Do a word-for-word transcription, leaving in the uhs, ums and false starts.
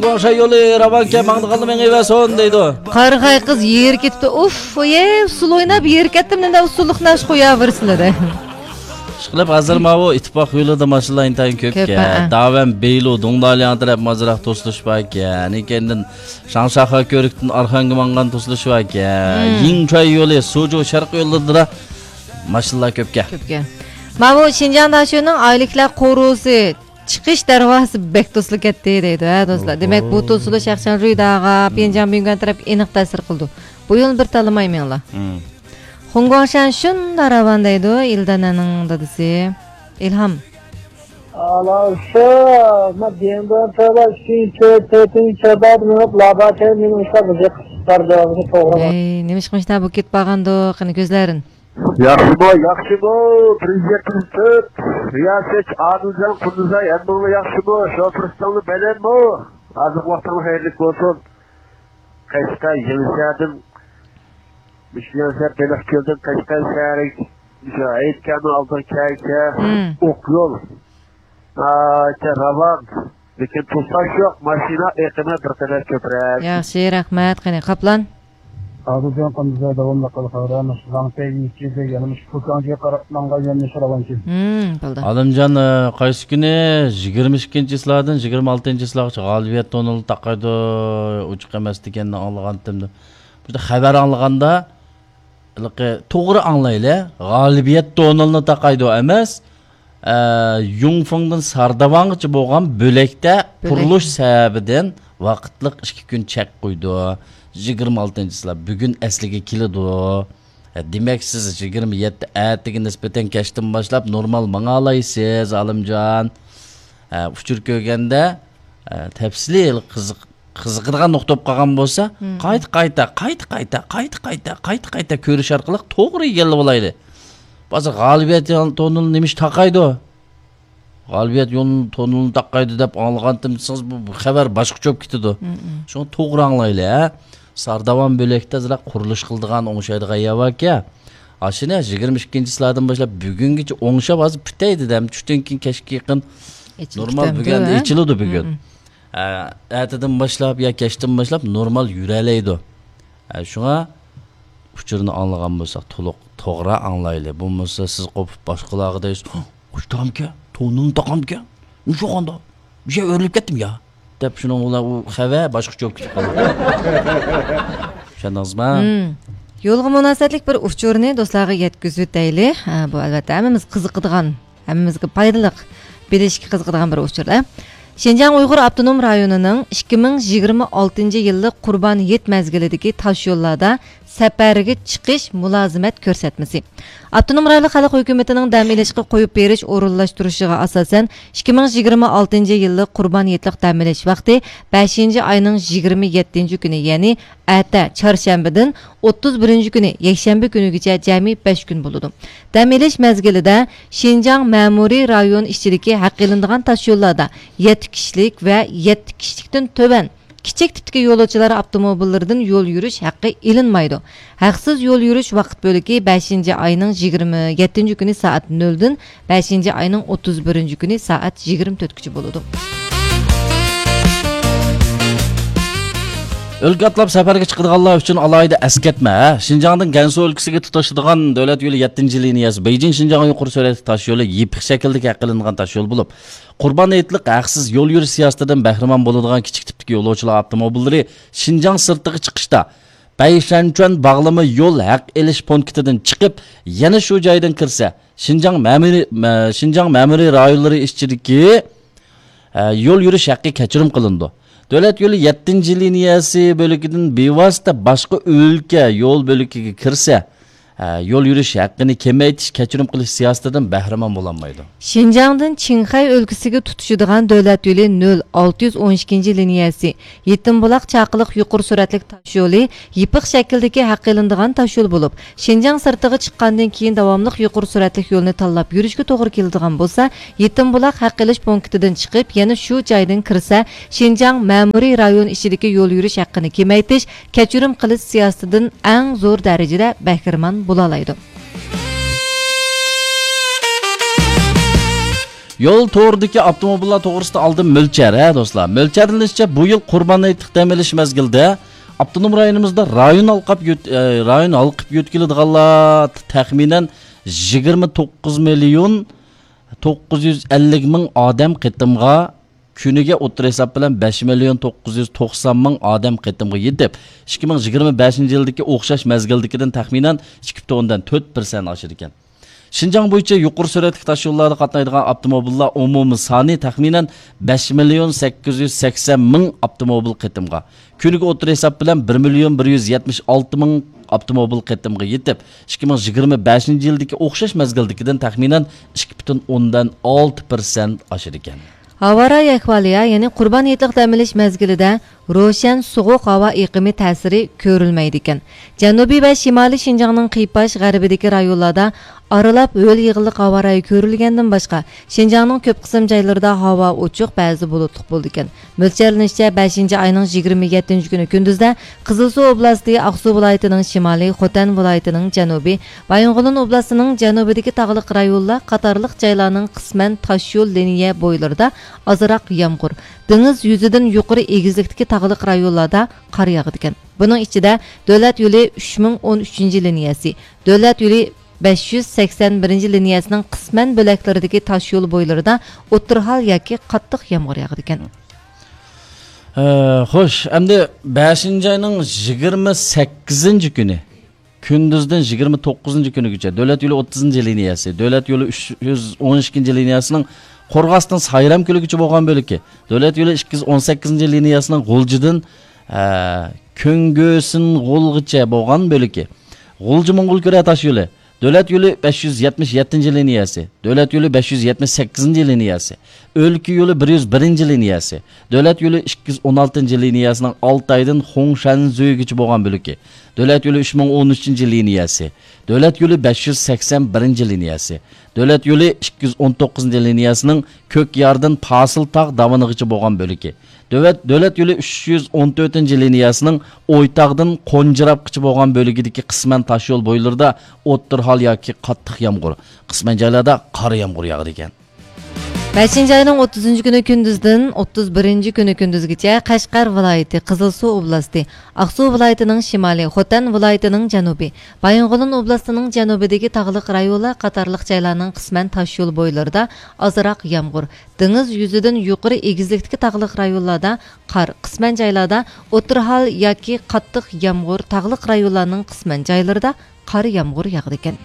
گۇاڭشەن يولى راۋانكەن، ماڭىدىغانلا مېڭىۋەرسۇن دەيدۇ. قارىغاي قىز يېرى كېتىپتۇ. ئۇف، ئۇيە، ئۇسسۇل ئويناپ يېرى كەتتىم، نېمە ئۇسسۇللۇقنى ئاشۇ قوياۋېرىسىلە دە. ئىشقىلىپ، ھازىر ماۋۇ ئىتتىپاق يولىدا ماشىنىلار ئىنتايىن كۆپ كۆپ، ئىكەن. ھە. داۋەن بېيلۇ، دۇڭدالياڭ تەرەپ ئازراق توسۇلۇش بار ئىكەن. كەينىدىن شاڭشاخا كۆۋرۈكتىن ئارخانگا ماڭغان توسۇلۇش بار ئىكەن. مم. يىڭچۇەي يولى، سۇجۇ شەرقىي يوللىرىدا ماشىنىلار كۆپكەن. كۆپكەن. ماۋۇ شىنجاڭ داشۆنىڭ ئائىلىلىكلەر قورۇسى چىقىش دەرۋازىسى بەك توسۇلۇپ كەتتى دەيدۇ، ھە، دوستلار. دېمەك، بۇ توسۇلۇش شەخسەن رۇيداغا، پيەنجياڭ بۈيۈنگەن تەرەپكە ئېنىق تەسىر قىلىدۇ. بۇ يولنى بىر تاللىماي مېڭىڭلار. مم. خۇڭگۇاڭشەن شۇنداق راۋان دەيدۇ، ئىلدەنەنىڭ دادىسى. ئىلھام. ئالاۋسا، ما دېڭدىن تۆۋە ئىككىنچى، تۆتىنچى چادا مېڭىپ، لاباكەي مېنىڭ ئىشلار بىزگە قىسىپ بەردى، بۇنى توغرا. ئەي، نېمىشقىمىشتا بۇ كېتىپ بارغاندۇ، قېنى كۆزلەرىن. ياخشىمۇ، ياخشىمۇ، بىر يۈز يەتمىش تۆت، رىياسەت، ئادىلجان، قۇندۇزاي، ھەممىڭلار ياخشىمۇ؟ شوپۇر ئۇستاڭلار بەلەنمۇ؟ ھازىرقى ۋاقتىڭلار خەيرلىك بولسۇن. قەشقەر، يېڭىشەھەردىن، مۇشۇ يېڭىشەھەر بېلىقكۆلدىن قەشقەر شەھەرگە، مۇشۇ ھەيتكەننىڭ ئالدىغا كەلسە، مم. ئوق يول. ئا، راۋان. لېكىن توساش يوق، ماشىنا ئېقىمى بىر قەدەر كۆپرەك. ياخشى، رەھمەت. قېنى، قاپلان؟ ئادىلجان، قاندىزاي داۋاملىق قىلغان، مۇشۇ لاڭتەي يېزىسى، يەنە مۇشۇ پۇكاڭجىگە قاراپ ماڭغان يۆنىلىش راۋانكەن. ھىم، بولدى. ئالىمجان، ئە، قايسى كۈنى؟ يىگىرمە ئىككىنچى چىسلادىن يىگىرمە ئالتىنچى چىسلاغىچە غالىبىيەت تونېلى تاقايدۇ، ئوچۇق ئەمەس دېگەننى ئاڭلىغانتىم دەپ. بۇ يەردە خەۋەر ئاڭلىغاندا، ھېلىقى توغرا ئاڭلايلى. غالىبىيەت تونېلىنى تاقايدۇ ئەمەس، ئە، يۇڭفېڭدىن سارداۋانغىچە بولغان بۆلەكتە بۆلەك. قۇرۇلۇش سەۋەبىدىن ۋاقىتلىق ئىككى كۈن چەك قويىدۇ. يىگىرمە ئالتىنچى چىسلا بۈگۈن ئەسلىگە كېلىدۇ. ئە، دېمەك، سىز يىگىرمە يەتتە ئەتىگە نىسبەتەن كەچتىن باشلاپ نورمال ماڭالايسىز، ئالىمجان. ئە، ئۇچۇر كۆرگەندە، ئە، تەپسىلىي قىزىق قىزىقىدىغان نۇقتا بولۇپ قالغان بولسا، مم. قايتا، قايتا، قايتا، قايتا، قايتا، قايتا، قايتا، قايتا كۆرۈش ئارقىلىق توغرا ئىگىلىۋالايلى. ھازىر غالىبىيەت تونېلى نېمىش تاقايدۇ؟ غالىبىيەت يول تونېلىنى تاقايدۇ دەپ ئاڭلىغانتىم دېسىڭىز، بۇ، بۇ خەۋەر باشقىچە بولۇپ كېتىدۇ. مم، مم. شۇڭا توغرا ئاڭلايلى، ھە؟ سارداۋان بۆلەكتە زىرا قۇرۇلۇش قىلىدىغان، ئوڭشايدىغان يەر باركەن. ئاشۇنى يىگىرمە ئىككىنچى چىسلادىن باشلاپ بۈگۈنگىچە ئوڭشاپ، ھازىر پۈتەي دېدىم. چۈشتىن كېيىن كەچكە يېقىن ئېچىلىپ نورمال كېتەمدۇ، بۈگۈن ھە؟ ئېچىلىدۇ بۈگۈن. مم، مم. ئە، ئەتىدىن باشلاپ يا كەچتىن باشلاپ نورمال يۈرەلەيدۇ. ئە، شۇڭا ئۇچۇرنى ئاڭلىغان بولساق تولۇق توغرا ئاڭلايلى. بولمىسا سىز قوپۇپ باشقىلارغا دەيسىز، «ئۇشتامكەن، تونۇمنى تاقامكەن، مۇشۇ قانداق؟ مۇشۇ يەر ئۆرۈلۈپ كەتتىمۇ يا؟» دەپ شۇنىڭ بىلەن ئۇ خەۋەر باشقىچە بولۇپ كېتىپ قالىدۇ. چۈشەندىڭىزمۇ؟ مم. يولغا مۇناسىۋەتلىك بىر ئۇچۇرنى دوستلارغا يەتكۈزۈۋېتەيلى. ھە، بۇ ئەلۋەتتە ھەممىمىز قىزىقىدىغان ھەممىمىزگە پايدىلىق، بىلىشكە قىزىقىدىغان بىر ئۇچۇر. شىنجاڭ ئۇيغۇر ئاپتونوم رايونىنىڭ ئىككى مىڭ يىگىرمە ئالتىنچى يىللىق قۇربان ھېيت مەزگىلىدىكى تاشيوللاردا سەپەرگە چىقىش مۇلازىمەت كۆرسەتمىسى. ئاپتونوم رايونلۇق خەلق ھۆكۈمىتىنىڭ دەم ئېلىشقا قويۇپ بېرىش ئورۇنلاشتۇرۇشىغا ئاساسەن، ئىككى مىڭ يىگىرمە ئالتىنچى يىللىق قۇربان ھېيتلىق دەم ئېلىش ۋاقتى بەشىنچى ئاينىڭ يىگىرمە يەتتىنچى كۈنى، يەنى ئەتە، چارشەنبىدىن ئوتتۇز بىرىنچى كۈنى، يەكشەنبە كۈنىگىچە جەمئىي بەش كۈن بولىدۇ. دەم ئېلىش مەزگىلىدە شىنجاڭ مەمۇرىي رايون ئىچىدىكى ھەق ئېلىنىدىغان تاشيوللاردا يەتتە كىشىلىك ۋە يەتتە كىشىلىكتىن تۆۋەن كىچىك تىپتىكى يولۇچىلار ئاپتوموبىللىرىدىن يول يۈرۈش ھەققى ئېلىنمايدۇ. ھەقسىز يول يۈرۈش ۋاقىت بۆلىكى بەشىنچى ئاينىڭ يىگىرمە يەتتىنچى كۈنى سائەت نۆلدىن بەشىنچى ئاينىڭ ئوتتۇز بىرىنچى كۈنى سائەت يىگىرمە تۆتكىچە بولىدۇ. ئۆلكە ئاتلاپ سەپەرگە چىقىدىغانلار ئۈچۈن ئالاھىدە ئەسكەرتمە، ھە؟ شىنجاڭدىن گەنسۇ ئۆلكىسىگە تۇتىشىدىغان دۆلەت يولى يەتتىنچى لىنىيەسى بېيجىڭ شىنجاڭغا يۇقىرى سۈرئەتلىك تاشيولى يېپىق شەكىلدىكى ھەق ئېلىنغان تاشيول بولۇپ، قۇربان ھېيتلىق ھەقسىز يول يۈرۈش سىياسىتىدىن بەھرىمەن بولىدىغان كىچىك تىپتىكى يولۇچىلار ئاپتوموبىللىرى شىنجاڭ سىرتىغا چىقىشتا، بەيشەنچۈەن باغلىما يول ھەق ئېلىش پونكىتىدىن چىقىپ، يەنە شۇ جايدىن كىرسە، شىنجاڭ مەمۇرىي، مە-، شىنجاڭ مەمۇرىي رايونلىرى ئىچىدىكى، ئە، يول يۈرۈش ھەققى كەچۈرۈم قىلىنىدۇ. دۆلەت يولى يەتتىنچى لىنىيەسى بۆلىكىدىن بىۋاسىتە باشقا ئۆلكە يول بۆلىكىگە كىرسە، ئە، يول يۈرۈش ھەققىنى كېمەيتىش، كەچۈرۈم قىلىش سىياسىتىدىن بەھرىمەن بولالمايدۇ. شىنجاڭدىن چىڭخەي ئۆلكىسىگە تۇتىشىدىغان دۆلەت يولى نۆل ئالتە يۈز ئون ئىككىنچى لىنىيەسى، يېتىم بۇلاق چاقىلىق يۇقىرى سۈرئەتلىك تاشيولى يېپىق شەكىلدىكى ھەق ئېلىنىدىغان تاشيول بولۇپ، شىنجاڭ سىرتىغا چىققاندىن كېيىن داۋاملىق يۇقىرى سۈرئەتلىك يولنى تاللاپ يۈرۈشكە توغرا كېلىدىغان بولسا، يېتىم بۇلاق ھەق ئېلىش پونكىتىدىن چىقىپ، يەنە شۇ جايدىن كىرسە، شىنجاڭ مەمۇرىي رايون ئىچىدىكى يول يۈرۈش ھەققىنى كېمەيتىش، كەچۈرۈم قىلىش سىياسىتىدىن ئەڭ زور دەرىجىدە بەھرىمەن بولالايدۇ. يول تورىدىكى ئاپتوموبىللار توغرىسىدا ئالدىن مۆلچەر، ھە، دوستلار. مۆلچەرلىنىشىچە، بۇ يىل قۇربان ھېيتلىق دەم ئېلىش مەزگىلىدە ئاپتونوم رايونىمىزدا رايون ھالقىپ يۆت-، ئە، رايون ھالقىپ يۆتكىلىدىغانلار تەخمىنەن يىگىرمە توققۇز مىليون توققۇز يۈز ئەللىك مىڭ ئادەم قېتىمغا، كۈنىگە ئوتتۇرا ھېساب بىلەن بەش مىليون توققۇز يۈز توقسان مىڭ ئادەم قېتىمغا يېتىپ، ئىككى مىڭ يىگىرمە بەشىنچى يىلدىكى ئوخشاش مەزگىلدىكىدىن تەخمىنەن ئىككى پۈتۈن ئوندىن تۆت پىرسەنت ئاشىدىكەن. شىنجاڭ بويىچە يۇقىرى سۈرئەتلىك تاشيوللاردا قاتنايدىغان ئاپتوموبىللار ئومۇمىي سانى تەخمىنەن بەش مىليون سەككىز يۈز سەكسەن مىڭ ئاپتوموبىل قېتىمغا، كۈنىگە ئوتتۇرا ھېساب بىلەن بىر مىليون بىر يۈز يەتمىش ئالتە مىڭ ئاپتوموبىل قېتىمغا يېتىپ، ئىككى مىڭ يىگىرمە بەشىنچى يىلدىكى ئوخشاش مەزگىلدىكىدىن تەخمىنەن ئىككى پۈتۈن ئوندىن ئالتە پىرسەنت ئاشىدىكەن. ھاۋا رايى ئەھۋالى، يەنى قۇربان ھېيتلىق دەم ئېلىش مەزگىلىدە روشەن سوغۇق ھاۋا ئېقىمى تەسىرى كۆرۈلمەيدىكەن. جەنۇبىي ۋە شىمالىي شىنجاڭنىڭ قىيپاش غەربىدىكى رايونلاردا ئارىلاپ ھۆل يېغىنلىق ھاۋا رايى كۆرۈلگەندىن باشقا، شىنجاڭنىڭ كۆپ قىسىم جايلىرىدا ھاۋا ئوچۇق، بەزى بۇلۇتلۇق بولىدىكەن. مۆلچەرلىنىشىچە، بەشىنچى ئاينىڭ يىگىرمە يەتتىنچى كۈنى كۈندۈزدە قىزىلسۇ ئوبلاستى، ئاقسۇ ۋىلايىتىنىڭ شىمالى، خوتەن ۋىلايىتىنىڭ جەنۇبى، بايىنغولىن ئوبلاستىنىڭ جەنۇبىدىكى تاغلىق رايونلار قاتارلىق جايلارنىڭ قىسمەن تاشيول لىنىيە بويلىرىدا ئازراق يامغۇر، دېڭىز يۈزىدىن يۇقىرى ئېگىزلىكتىكى تاغلىق رايونلاردا قار ياغىدىكەن. بۇنىڭ ئىچىدە دۆلەت يولى ئۈچ مىڭ ئون ئۈچىنچى لىنىيەسى، دۆلەت يولى بەش يۈز سەكسەن بىرىنچى لىنىيەسىنىڭ قىسمەن بۆلەكلىرىدىكى تاشيول بويلىرىدا ئوتتۇرا ھال ياكى قاتتىق يامغۇر ياغىدىكەن. ئە، خوش، ئەمدى بەشىنچى ئاينىڭ يىگىرمە سەككىزىنچى كۈنى كۈندۈزدىن يىگىرمە توققۇزىنچى كۈنىگىچە دۆلەت يولى ئوتتۇزىنچى لىنىيەسى، دۆلەت يولى ئۈچ يۈز ئون ئىككىنچى لىنىيەسىنىڭ قورغاستىن سايرام كۆلىگىچە بولغان بۆلىكى، دۆلەت يولى ئىككى يۈز ئون سەككىزىنچى لىنىيەسىنىڭ غۇلجىدىن، ئە، كۆڭگۆسىنغولغىچە بولغان بۆلىكى، غۇلجا موڭغۇلكۈرە تاش يولى، دۆلەت يولى بەش يۈز يەتمىش يەتتىنچى لىنىيەسى، دۆلەت يولى بەش يۈز يەتمىش سەككىزىنچى لىنىيەسى، ئۆلكە يولى بىر يۈز بىرىنچى لىنىيەسى، دۆلەت يولى ئىككى يۈز ئون ئالتىنچى لىنىيەسىنىڭ ئالتايدىن خۇڭشەنزۈيگىچە بولغان بۆلىكى، دۆلەت يولى ئۈچ مىڭ ئون ئۈچىنچى لىنىيەسى، دۆلەت يولى بەش يۈز سەكسەن بىرىنچى لىنىيەسى، دۆلەت يولى ئىككى يۈز ئون توققۇزىنچى لىنىيەسىنىڭ كۆكياردىن پاسىل تاغ داۋىنىغىچە بولغان بۆلىكى، دۆلەت، دۆلەت يولى ئۈچ يۈز ئون تۆتىنچى لىنىيەسىنىڭ ئويتاغدىن قونجىراپقىچە بولغان بۆلىكىدىكى قىسمەن تاشيول بويلىرىدا ئوتتۇرا ھال ياكى قاتتىق يامغۇر، قىسمەن جايلاردا قارا يامغۇر ياغىدىكەن. بەشىنچى ئاينىڭ ئوتتۇزىنچى كۈنى كۈندۈزدىن ئوتتۇز بىرىنچى كۈنى كۈندۈزگىچە قەشقەر ۋىلايىتى، قىزىلسۇ ئوبلاستى، ئاقسۇ ۋىلايىتىنىڭ شىمالى، خوتەن ۋىلايىتىنىڭ جەنۇبى، بايىنغولىن ئوبلاستىنىڭ جەنۇبىدىكى تاغلىق رايونلار قاتارلىق جايلارنىڭ قىسمەن تاشيول بويلىرىدا ئازراق يامغۇر، دېڭىز يۈزىدىن يۇقىرى ئېگىزلىكتىكى تاغلىق رايونلاردا قار، قىسمەن جايلاردا ئوتتۇرا ھال ياكى قاتتىق يامغۇر، تاغلىق رايونلارنىڭ قىسمەن جايلىرىدا قار يامغۇر ياغىدىكەن.